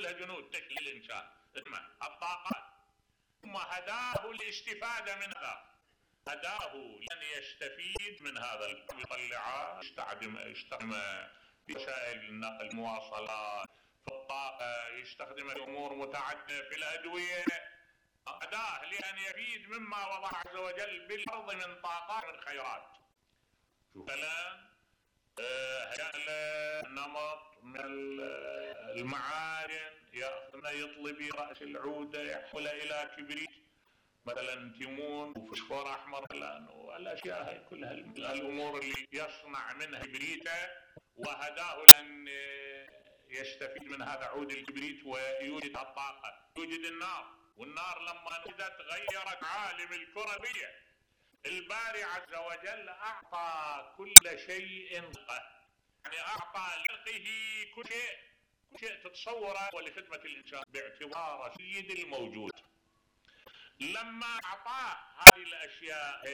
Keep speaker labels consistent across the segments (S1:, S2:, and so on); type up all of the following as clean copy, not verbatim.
S1: كلها جنود تشكيل الانسان اسمها الطاقات. ثم هداه الاستفادة من هذا، هداه لأن يستفيد من هذا يطلعه، يستخدم في وسائل النقل، المواصلات، في الطاقة، يستخدم في أمور متعددة، في الأدوية. هداه لأن يفيد مما وضع عز وجل بالأرض من طاقات من خيرات. شوف كلام هيأ نمط من المعادن، يطلب رأس العودة يحولها إلى كبريت مثلا، تيمون وفوسفور أحمر والأشياء هاي كلها الأمور اللي يصنع منها كبريتا. وهداه لأن يستفيد من هذا عود الكبريت ويوجد الطاقة، يوجد النار. والنار لما نزلت غيرت عالم الكرة بيه. الباري عز وجل أعطى كل شيء يعني أعطى لخلقه كل شيء تتصوره ولخدمة الإنسان باعتباره سيد الموجود. لما أعطاه هذه الأشياء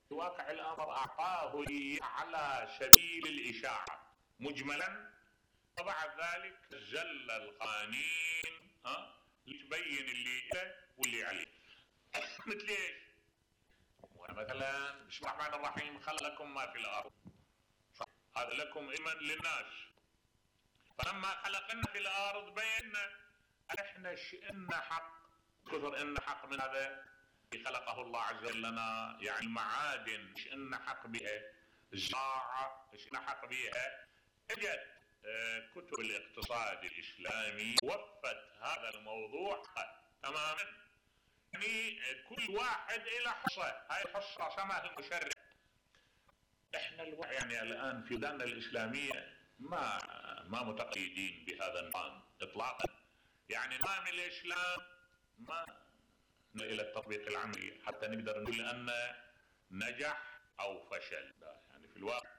S1: في واقع الأمر أعطاه على سبيل الإشاعة مجملا، وبعد ذلك زل القوانين لتبين اللي له واللي عليه. مثل ايش؟ مثلا بسم الله الرحمن الرحيم خلق لكم ما في الأرض، هذا لكم إيمان للناس. فلما خلقنا في الأرض بينا احنا شئنا حق، كثر إن حق من هذا خلقه الله عز وجل لنا، يعني المعادن شئنا حق بها، الزراعة شئنا حق بها. اجت كتب الاقتصاد الإسلامي وفت هذا الموضوع تماما، يعني كل واحد إلى حصة، هاي الحصة رسمها المشرع. احنا يعني الآن في بلادنا الإسلامية ما متقيدين بهذا النظام إطلاقا، يعني نظام الإسلام ما إلى التطبيق العملي حتى نقدر نقول أنه نجح أو فشل. يعني في الواقع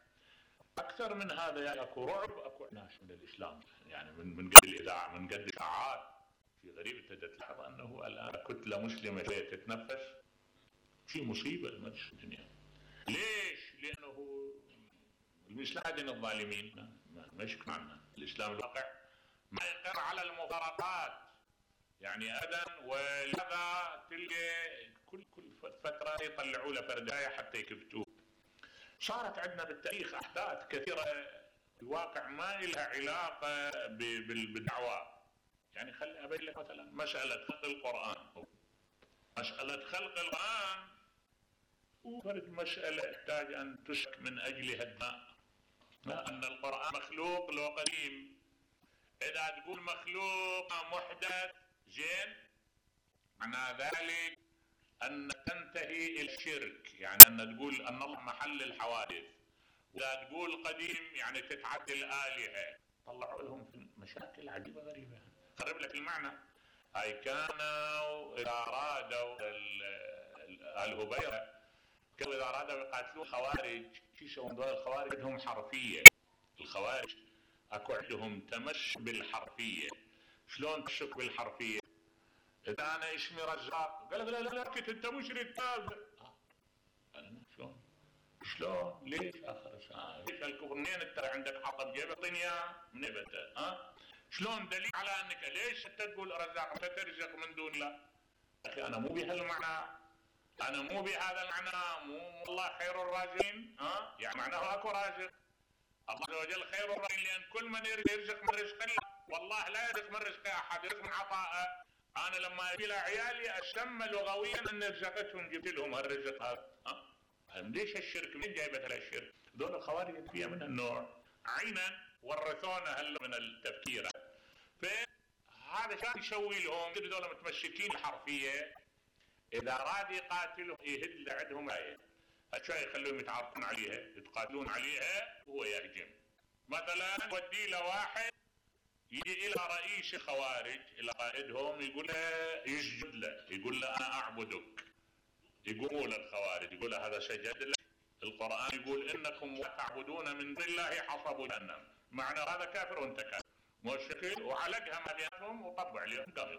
S1: أكثر من هذا، يعني أكو رعب، أكو ناس من الإسلام، يعني من قد الإذاعة، من قد الإشاعات. في غريب أنت تلاحظ أنه الآن كتلة مسلمة شوية تتنفس، في مصيبة المدش الدنيا. ليش؟ لأنه الإسلام دين الظالمين، ما يشك معنا. الإسلام الواقع ما يقر على المفارقات يعني أبدا، ولذا تلقى كل فترة يطلعوا له فرداية حتى يكبتوه. صارت عندنا بالتاريخ أحداث كثيرة في الواقع ما لها علاقة بالدعوة. يعني خلي أبين لك مثلا مسألة خلق القرآن، مسألة خلق القرآن وفرد مسألة يحتاج أن تسك من أجلها الدماء. أن القرآن مخلوق لو قديم، إذا تقول مخلوق محدث زين معنى ذلك أن تنتهي إلى الشرك، يعني أن تقول أن الله محل الحوادث. وإذا تقول قديم يعني تتعدى الآلهة. طلعوا لهم في مشاكل عجيبة غريبة. خرب لك المعنى. هاي كانوا إذا أرادوا الهبيرة كانوا إذا أرادوا يقاتلون خوارج، شو يسوون دول الخوارج؟ عندهم حرفية. الخوارج أكو عندهم تمس بالحرفية. شلون تشك بالحرفية؟ إذا أنا اسمي رزاق قال لا كنت أنت مشرك كاذب. شلون؟ ليش آخر ساعة؟ ليش الكفر؟ منين أنت عندك حطب جيبه طنيا من بته؟ شلون دليل على أنك ليش أنت تقول رزاق أنت ترزق من دون الله؟ أخي أنا مو بهالمعنى، أنا مو بهذا المعنى، مو الله خير الرازقين. يعني معناه أكو رازق. الله عز وجل خير الرازقين، لأن كل من يرزق من رزق الله، والله لا يرزق من رزق أحد، يرزق من عطاءه. أنا لما أجي لعيالي أسمى لغويا أن رزقتهم جبت لهم هالرزق هذا. ليش الشرك؟ من جايبت الشرك؟ دول الخوارج فيها من النوع عينا ورثونا من التفكير. فهذا كان يسوي لهم دول متمسكين الحرفية. إذا أراد يقاتلهم يهد عندهم آية أشياء يخلوهم يتعرفون عليها، يتقاتلون عليها وهو يهجم. مثلا ودي له واحد يجي إلى رئيس خوارج إلى قائدهم يقول له يسجد له، يقول له أنا أعبدك. يقولوا للخوارج يقول له هذا سجد لك. القرآن يقول إنكم تعبدون من دون الله حصب جهنم، معنى هذا كافر وانت كافر. مشكل وعلقها ما بينهم وطبع عليهم قبل.